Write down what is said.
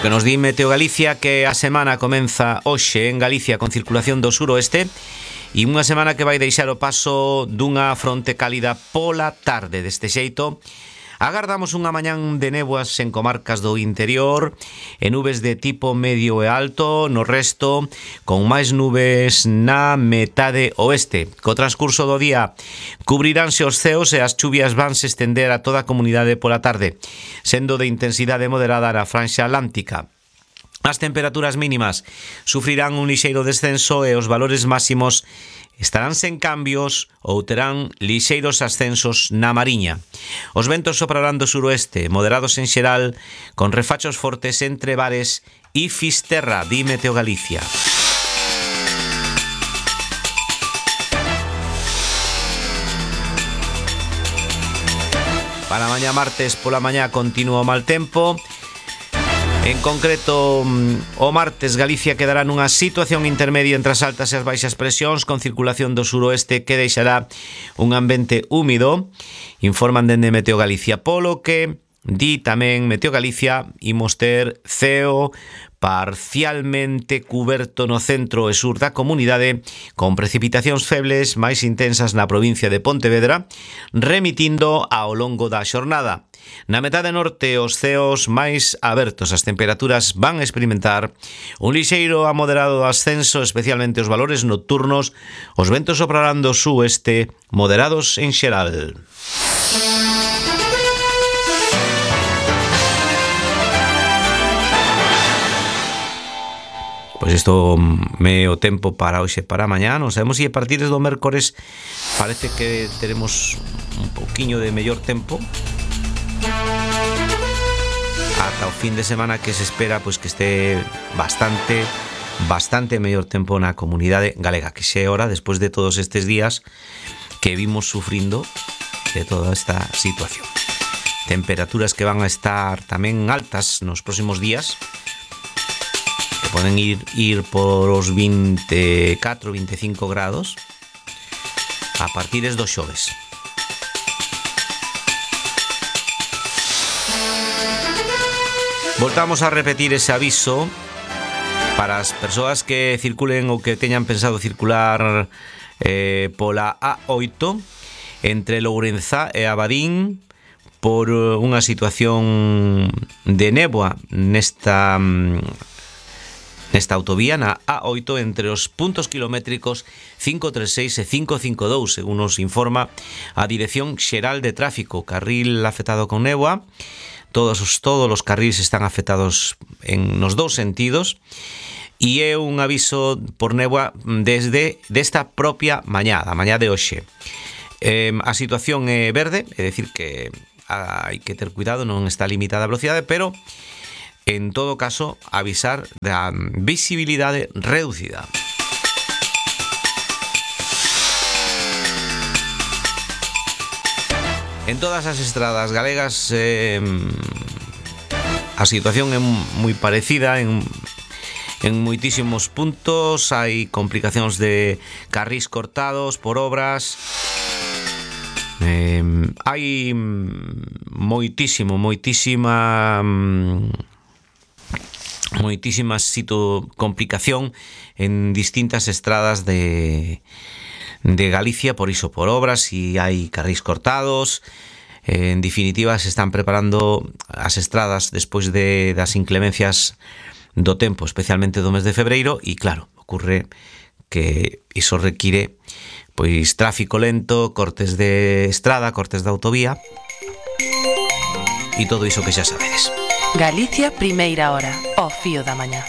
que nos di Meteo Galicia que a semana comeza hoxe en Galicia con circulación do suroeste e unha semana que vai deixar o paso dunha fronte cálida pola tarde. Deste xeito, agardamos unha mañán de néboas en comarcas do interior e nubes de tipo medio e alto no resto, con máis nubes na metade oeste. Co transcurso do día cubriránse os ceos e as chuvias vanse estender a toda a comunidade pola tarde, sendo de intensidade moderada na franxa atlántica. As temperaturas mínimas sufrirán un lixeiro descenso e os valores máximos estarán sen cambios ou terán lixeiros ascensos na Mariña. Os ventos soprarán do suroeste, moderados en xeral, con refachos fortes entre Bares e Fisterra, di Meteo Galicia. Para mañá martes pola mañá continúa o mal tempo. En concreto, o martes Galicia quedará nunha situación intermedia entre as altas e as baixas presións, con circulación do suroeste que deixará un ambiente húmido, informan dende Meteo Galicia, polo que di tamén Meteo Galicia imos ter ceo parcialmente cuberto no centro e sur da comunidade, con precipitacións febles máis intensas na provincia de Pontevedra, remitindo ao longo da xornada. Na metade norte, os ceos máis abertos, as temperaturas van experimentar un lixeiro a moderado ascenso, especialmente os valores nocturnos. Os ventos soprarán do sueste, moderados en xeral. Pois isto é o tempo para hoxe para mañá. Non sabemos se a partir do mércores parece que teremos un pouquiño de mellor tempo ata o fin de semana, que se espera pois que este bastante mellor tempo na comunidade galega, que xe é hora despois de todos estes días que vimos sufrindo de toda esta situación. Temperaturas que van a estar tamén altas nos próximos días, que poden ir por os 24, 25 grados a partir do xoves. Voltamos a repetir ese aviso para as persoas que circulen ou que teñan pensado circular pola A8 entre Lourenzá e Abadín por unha situación de néboa nesta autovía, na A8, entre os puntos kilométricos 536 e 552, según nos informa a Dirección Xeral de Tráfico. Carril afectado con néboa. Todos os carriles están afectados nos dous sentidos e é un aviso por néboa desde desta propia mañá, a mañá de hoxe. A situación é verde, é dicir que hai que ter cuidado, non está limitada a velocidade, pero en todo caso avisar da visibilidade reducida. En todas as estradas galegas a situación é moi parecida en moitísimos puntos. Hai complicacións de carrís cortados por obras. Hai moitísima complicación en distintas estradas de Galicia, por iso, por obras, e hai carrís cortados. En definitiva, se están preparando as estradas despois das inclemencias do tempo, especialmente do mes de febreiro, e claro, ocurre que iso require pois tráfico lento, cortes de estrada, cortes de autovía e todo iso que xa sabedes. Galicia, primeira hora, ao fío da mañá.